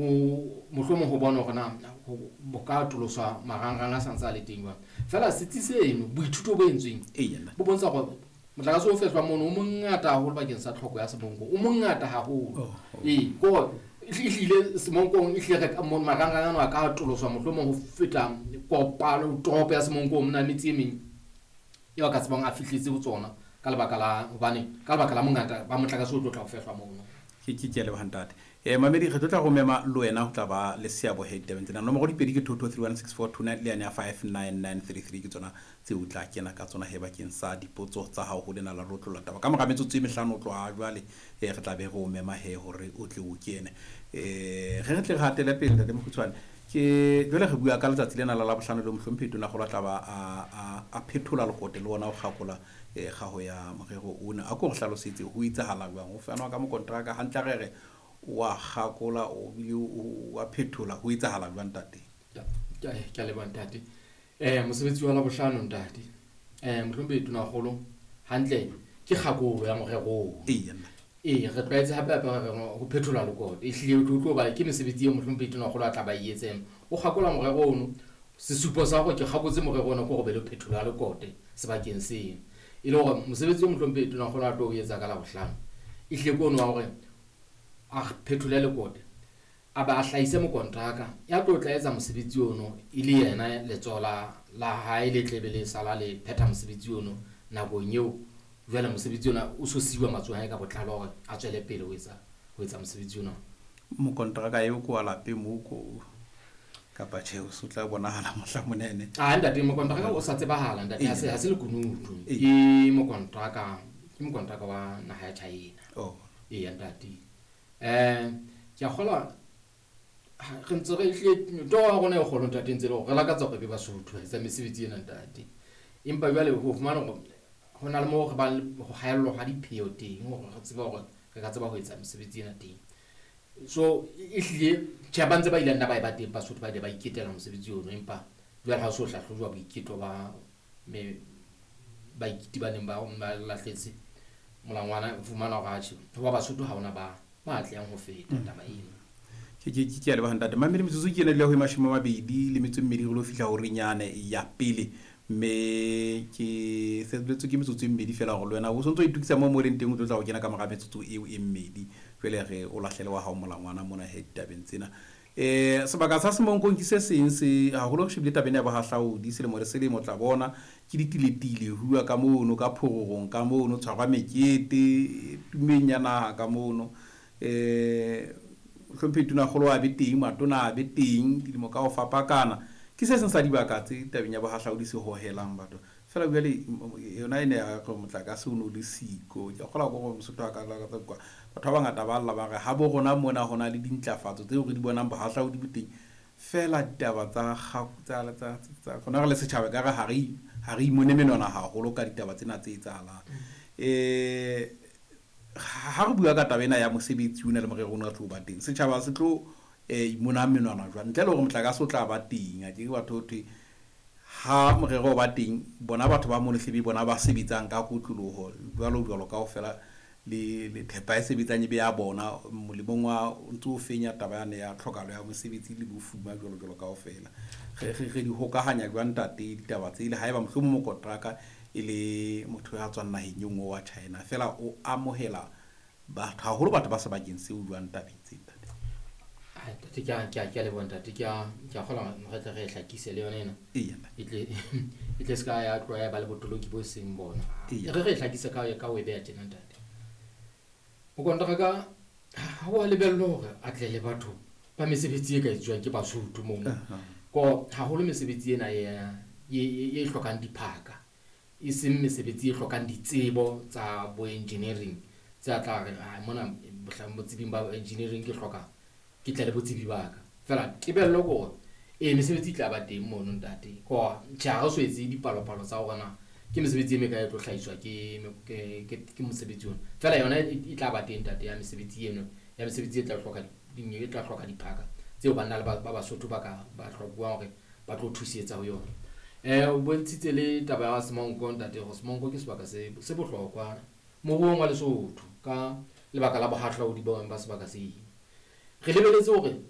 Ho mohlomong ho bona hore na ho ka atoloswa marangrang a santse a le teng jwang. Feela setsi seno, boithuto bo entsweng bo bontsha hore motlakase o fehlwang mono o mongata haholo bakeng sa tlhoko ya Semonkong, o mongata haholo. Ee, ke hore ehlile Semonkong, ehlile re marangrang ano a ka atoloswa mohlomong ho feta kopano toropo ya Semonkong mona, metse e meng eo a ka tsebang a fihletse ho tsona ka lebaka la hobane ka lebaka la mongata ba motlakase o tlo tla ho fehlwa mono. Ke a leboha, ntate. Mamedi, re tlo tla go mema le wena ho tla ba le seabo he ditabeng tsena. Nomoro dipedi ke 22316429 le yane ya 59933, ke tsona tseo o tla kena ka tsona he bakeng sa dipotso tsa hao ho lena la rotlolla taba. Ka mora metsotso e 5 ho tloha jwale, re tla be re o mema he hore o tle o kene. Re tle re hatele pele, ntate Mokhutshwane. Ke jwale re bua ka letsatsi lena la Labohlano le mohlomphehi Tonakgolo a tla ba a phethola lekote le ona o kgakola kgaho ya morero ona. A ko re hlalosetse ho etsahala jwang, ho fanwa ka mokontraka hantle, re re wa kgakola o bile wa phethola, ho etsahala jwang, ntate? Ke a leboha, ntate. Mosebetsi wa Labohlano, ntate, mohlomphehi Tonakgolo hantle ke kgakolo ya morero oo. Ee, re tlwaetse hape hape re re ho phethola lekote, ehlile o tlo ba ke mesebetsi eo mohlomphehi Tonakgolo a tla ba e etseng. O kgakola morero ono, sesupo sa hore ke kgakotse morero ona ke hore be le phetholo ya lekote sebakeng seno. E le hore mosebetsi o mohlomphehi Tonakgolo a tlo o etsa ka Labohlano, ehlile ke ono wa hore a phethole lekote, a ba a hlahise mokontraka ya tlo tla etsa mosebetsi ono, e le yena letsoho la hae le tle be le sala le phetha mosebetsi ono nakong eo. Jwale mosebetsi ona o so siwa matsohong a hae ka botlalo hore a tswele pele ho etsa mosebetsi ona. Mokontraka eo ko wa lapeng moo ko kapa tjhe, o so tla bonahala mohla monene? Ah, ntate, mokontraka o sa tsebahala, ntate, ha se lekunutu. Ke mokontraka wa naha ya China. Eya, ntate, ke a kgolwa re ntse re hlile toro ya rona e kgolo, ntate, ntse le hore re lakatsa hore be Basotho ba etsa mesebetsi ena, ntate, empa jwale ho fumana hore ho na le moo re bang le ho haellwa ha dipheo teng hore re tsebe hore re ka tseba ho etsa mesebetsi ena teng. So ehlile tjhe, ba ntse ba ile nna ba e ba teng Basotho ba ile ba iketela mosebetsi ono, empa jwale ha o so hlahlojwa boiketlo ba me baiketi ba neng ba lahletse molangwana, o fumana hore atjhe, ho ba Basotho ha hona ba atlehang ho feta taba eno. Ke a leboha, ntate. Mamedi, metsotso ke ena dula ho e 28 re lo fihla horeng yane ya pele, mme ke sebeletswe ke metsotso e mmedi fela hore le wena o sontso o itokisa moo leng teng, o tlo tla ho kena ka mora metsotso eo e mmedi. Jwale re o lahlele wa hao molangwana mona he ditabeng tsena. Sebaka sa Semonkong ke se seng se haholo re shebile tabeng ya bohahlaodi selemo le selemo, tla bona ke ditiletile huwa ka mono ka phororong ka mono, tshwarwa mekete tumeng ya naha ka mono. Hlomphehi Tonakgolo a be teng, matona a be teng dilemo ka ho fapakana. Ke se seng sa dibaka tse tabeng ya bohahlaodi se hohelang batho fela. Jwale yona e ne ya re motlakase o no le siko, ke a kgolwa ko gore Mosotho a ka lakatsa kwa batho ba bangata ba lla ba re ha bo rona mona ho na le dintlafatso tseo re di bonang, bohahlaodi bo teng, fela ditaba tsa rona re le setjhaba ka re ha re imone menwana haholo ka ditaba tsena tse etsahalang. Ha re bua ka taba ena ya mosebetsi ona le morero ona o tlo ba teng, setjhaba se tlo imona menwana jwang ntle le hore motlakase o tla ba teng? A ke batho ho thwe ha morero o ba teng, bona batho ba mono hlebe bona ba sebetsang ka kotloloho jwalo jwalo kaofela le thepa e sebetsang e be ya bona molemong wa o ntso o fenya taba yane ya tlhokahalo ya mosebetsi le bofuma jwalo jwalo kaofela. Re di hokahanya jwang, ntate, ditaba tse le haeba mohlomong mokontraka e le motho ya tswang naheng e nngwe wa China, fela o amohela batho haholo, batho ba sebakeng seo jwang tabeng tse, ntate? Ai, ntate, ke a leboha, ntate. Ke a kgolwa re tle re e hlakise le yona ena. Eya, ntate. E tle se ka ya tloha ya ba le botoloki bo seng bona. Re e hlakise ka ho e beha tjena, ntate. Mokontraka ha wa lebellwa hore a tle le batho ba mesebetsi e ka etsuwang ke Basotho mono. Ko haholo mesebetsi ena e hlokang diphaka, e seng mesebetsi e hlokang ditsebo tsa bo engineering tse a tla re, "Ah, mona botsebing ba engineering ke hloka ke tle le botsebi ba ka." Fela tebello ke hore ee, mesebetsi e tla ba teng mono, ntate. Ko tjhe, ha re so etse dipalopalo tsa hore na ke mesebetsi e mekae e tlo hlahiswa ke mosebetsi ona. Fela yona e tla ba teng, ntate, ya mesebetsi eno, ya mesebetsi e tla hloka diphaka tseo banna le ba Basotho ba ka ba hlokuwang hore ba tlo thusetsa ho yona. O bontshitse le taba ya Semonko, ntate, hore Semonko ke sebaka se bohlokwa moruong wa Lesotho ka lebaka la bohahlaodi ba sebaka seo. Re lebeletse hore